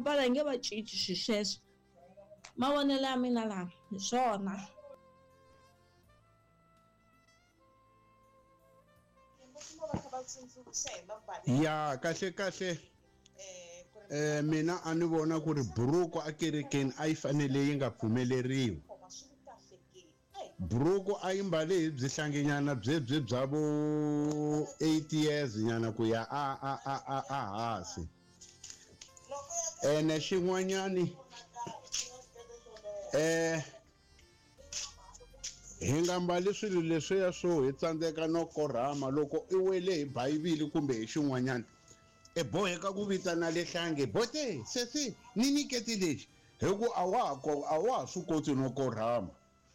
mbala hi nge va cinci xi sweswo. Mavonelo ya mina lama hi swona. Ya kahle kahle mina a ni vona ku ri buruku akerekeni a yi fanele yi nga pfumeleriwi. Buruku a yi mbale hi byi hlanginyana byebyi bya vo 8 years nyana ku ya a a a a a hansi. Ene xin'wanyani hi nga mbali swilo leswiya swo hi tsandzeka no korhama loko i wele hi bayibili kumbe hi xin'wanyana i boheka ku vitana lehlange bote sesi ni nyiketi lexi hi ku a wa ha a wa ha swi koti no korhama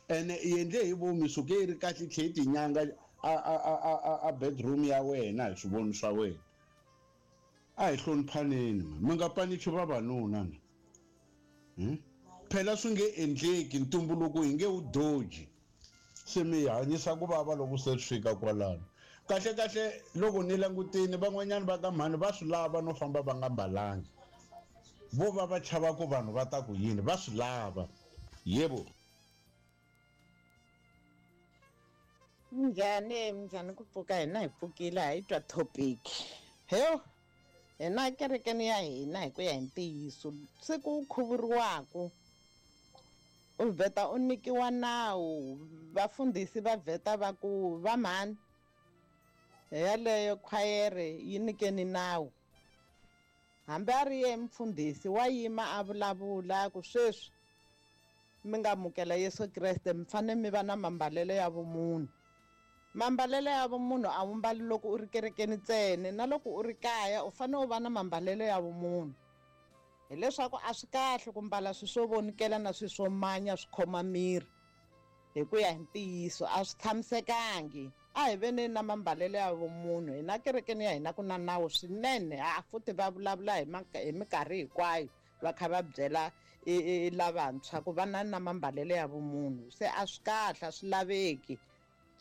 ene i endle hi vomi suke yi ri kahle tlhe yi tinyanga a a a a a a bedroom ya wena hi swivoni swa wena a hi hloniphaneni ma mi nga panichi vavanuna na Phela swi nge endleki, ntumbuluko hi nge wu doji. Se mi hi hanyisa ku vava loko se swi fika kwalano. Kahle-kahle loko ni langutini, van'wanyana va ka mhani va swi lava no famba va nga mbalangi. Vo va va chava ku vanhu va ta ku yini, va swi lava. Yebo. Minjhani, minjhani ku pfuka hina hi pfukile ha yi twa topic. Hewu hina kerekeni ya hina hi ku ya hi ntiyiso siku u khuvuriwaku u vheta u nyikiwa nawu vafundhisi va vheta va ku va mhani yaleyo khwayere yi nyikeni nawu hambi a ri ye mfundhisi wa yima a vulavula ku sweswi mi nga amukela Yesu Kreste mi fanele mi va na mambalelo ya vumunhu. Mambalelo ya vumunhu a wu mbali loko u ri kerekeni ntsena na loko u ri kaya u fanele u va na mambalelo ya vumunhu. Hileswaku a swi kahle ku mbala swilo swo vonikela na swilo swo manya swi khoma miri hi ku ya hi ntiyiso a swi tshamisekangi. A hi veneni na mambalelo ya vumunhu hina kerekeni ya hina ku na nawu swinene ha futhi va vulavula hi hi minkarhi hinkwayo va kha va byela lavantshwa ku va na na mambalelo ya vumunhu se a swi kahle a swi laveki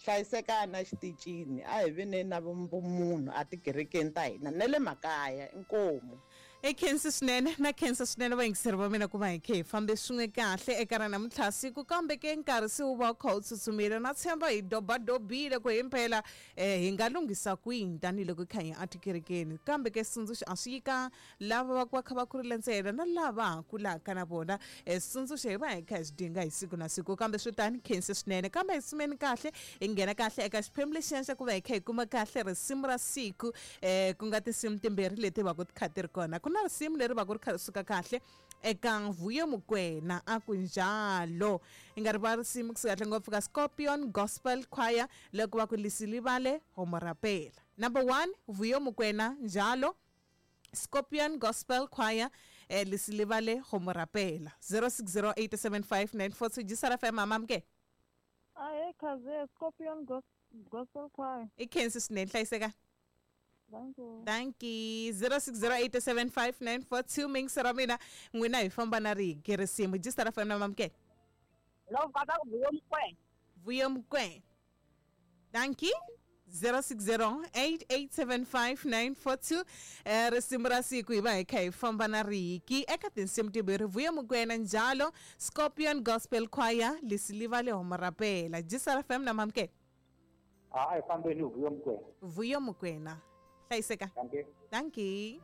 hlayisekani exitichini a hi veneni na vumunhu etikerekeni ta hina na le makaya inkomu. I khensi swinene na khensa swinene vayingiseri va mina ku va hi khe hi fambe swin'we kahle eka ra namuntlha siku kambe ke nkarhi se wu va wu kha wu tsutsumile na tshemba hi dobadobile ku himpela um hi nga lunghisa kwini tanihiloko hi kha hi ya etikerekeni kambe ke xitsundzuxo a swi yi ka lava va ku va kha va kurile ntsena na lava ha kulaka na vona um switsundzuxo hi va hi kha hi swi dinga hi siku na siku kambe swi tani khensi swinene kambe hi sumeni kahle hi nghena kahle eka xiphemu lexiya xa ku va hi kha hi kuma kahle risimu ra siku um ku nga tinsimu timbirhi leti va ku ti kha ti ri kona ku na risimu leri va ku ri kha ri suka kahle eka Vuyo Mokwena a ku njalo i nga rivala risimu kusuka kahle ngopfu ka Scorpion Gospel Choir loko va ku lisilivale homorapela number 1 Vuyo Mokwena njalo Scorpion Gospel Choir eh, lisilivale go mo rapela 06087594 jisara FM amamke Ahe khaze Scorpion Gospel Choir. I khensi swinene hlayiseka. Thank you. Thank you. 06087594 mingisi ra mina n'wina hi famba na rigi risimu jisara FM na mamke. Lo va ku Vuyo Mokwena. Vuyo Mokwena. Dankie. 0608875942 eh, risimu ra siku hi va hi kha hi famba na riki eka tinsimu timbirhi Vuyo Mokwena njalo Scorpion Gospel Choir lisiliva le homorapela Jisara FM na mamke A hi fambeni hi Vuyo Mokwena. Vuyo Mokwena hlayiseka Dankie. Dankie.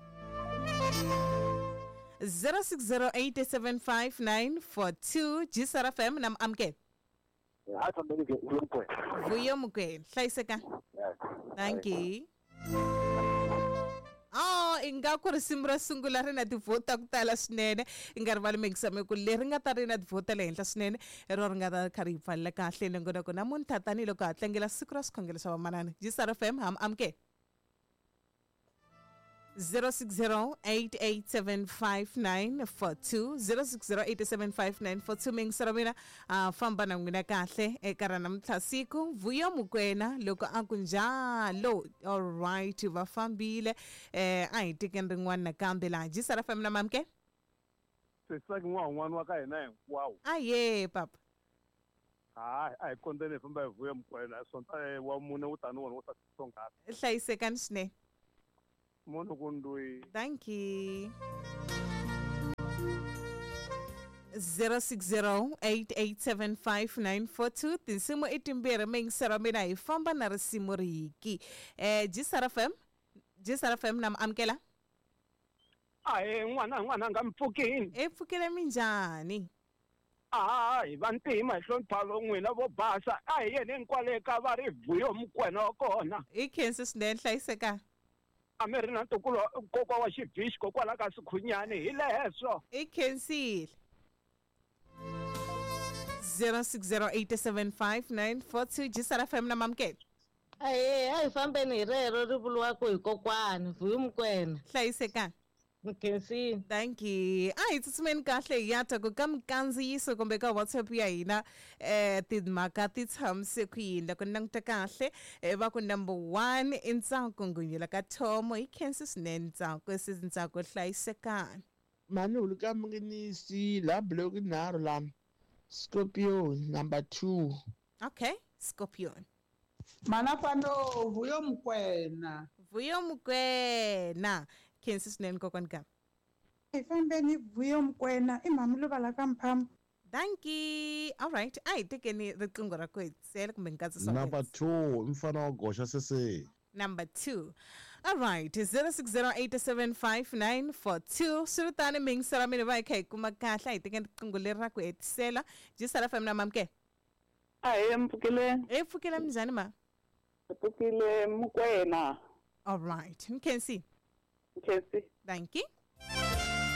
06087594 Jisara FM na amke Hi fambeni ke Vuyo Mokwena. Vuyo Mokwena hlayiseka thank you Oh, ingaku risimu ra sungula ri na tivhoti ta ku tala swinene i nga rivali mixame ku leri nga ta ri na tivhoti ta le henhla swinene hi rona ri nga ta kha ri yi pfalela kahle nongonoko namuntlha tanihiloko ha tlangela siku ra swikhongelo swa vamanana jisar fm ham amke 0608875942 0608875942 mingisero mina a famba na n'wina kahle eka ra namuntlha siku Vuyo Mokwena loko a ku njalo alright va fambile eh a hi tekeni rin'wana nakambe laha jisara fam na mamke Sesaki n'wana wa ka hina hinkwawo. Aye papa. Hayi a hi kondzeni hi famba hi Vuyo Mokwena Sonta wa mune wu tani wona wo tsonghaka. Hlayisekani swinene. Munhu ku ndwi. Thank you. 0608875942. Tinsimu i timbirhi, miyingisero mina hi famba na risimu riki. Gsr FM, Gsr FM, na mi amukela. Ahe n'wana, n'wana nga mpfukini. E pfukile, minjhani? A hi vantima hi hlonipha n'wina vo basa. A hi yeni kwale ka va ri Vuyo Mukwena wa kona. I khensi swinene, hlayiseka. A mi ri na ntukulu kokwa wa xivhixi kokwala ka Sikhunyani hi leswo. I khensile. 06087594 Gsr FM, na mamukela. Ahee, a hi fambeni hi rero ri vuriwaka hi kokwani Vuyo Mukwena. Hlayiseka. Mkhensini. Thank you. A hi tsutsumeni kahle hi ya ta ku ka mikandziyiso kumbe ka WhatsApp ya hina, timhaka ti tshamise ku yini. Loko ni languta kahle, va ku number 1 i Ntsako Ngunyula ka Thomo. Hi khensi swinene Ntsako, sisi Ntsako, hlayisekani. Mani huluka munginisi la block nharhu la Scorpion number 2. Okay, Scorpion. Mana fano Vuyo Mukwena. Vuyo Mukwena. Khensi swinene kokwani ka. Hi fambeni Vuyo Mukwena i mhami luvala ka Mphamo. Thank you. All right, a hi tekeni riqingho ra ku hetisela kumbe nkatsiso wa Number 2 mfana wa goxa sese. Number 2. All right, 06087594. Swi ri tani miyingiselo mina va hi kha hi kuma kahle, a hi tekeni riqingho leri ra ku hetisela. Gsr FM, na mamukela. Ahee, mpfukile. Hi pfukile, minjhani ma? Pfukile Mukwena. All right, Mkhensi. Mkhensi. Thank you.